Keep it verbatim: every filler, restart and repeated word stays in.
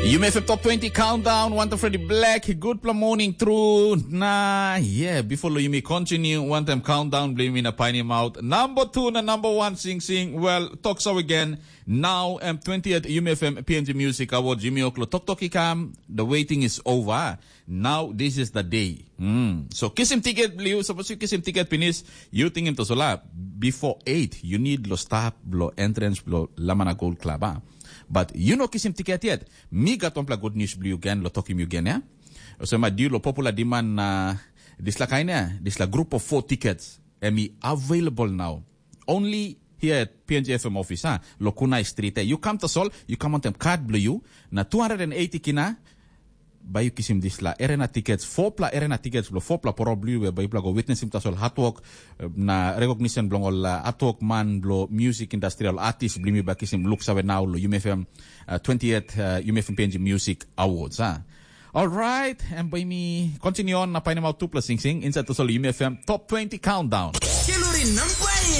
Yumi F M Top twenty Countdown, wantaim Freddie Black, gutpela morning tru. Na, yeah, before lo yumi continue, wantaim countdown, blo yumi na painim out number two na number one sing sing. Well, talk so again. Now, um, twentieth Yumi F M P N G Music Awards, yumi oklo tok tok i kam, the waiting is over. Now, this is the day. Mm. So, kisim tiket blo yu, suppose yu kisim tiket pinis, yu tingim to sola, before eight, you need lo stap, blo entrance, blo Lamana Gold Club, ah. But you no kisim tiket yet. Mi gat wanpela good news blo yu gen, lo tokim yu gen, ya. So, ma diu lo popular demand na disla kain, ya, disla group of four tickets, em i available now. Only here at P N G F M office, ha? Lo Kunai Street, eh? You come to Sol, you come on them card blo you. Na two hundred eighty kina, ba yu kisim disla arena tickets, four pla arena tickets, blo four pla poro blo you, ba yu pla go witness him tasol hard work, eh, na recognition blo all uh, hard work man blo music industrial artist blo mi ba kisim look sawe now lo U M F M uh, twentieth uh, U M F M P N G Music Awards, ha? All right, and by me continue on na painim out two plus sing sing inside to Sol U M F M Top twenty Countdown. Kelori nampai.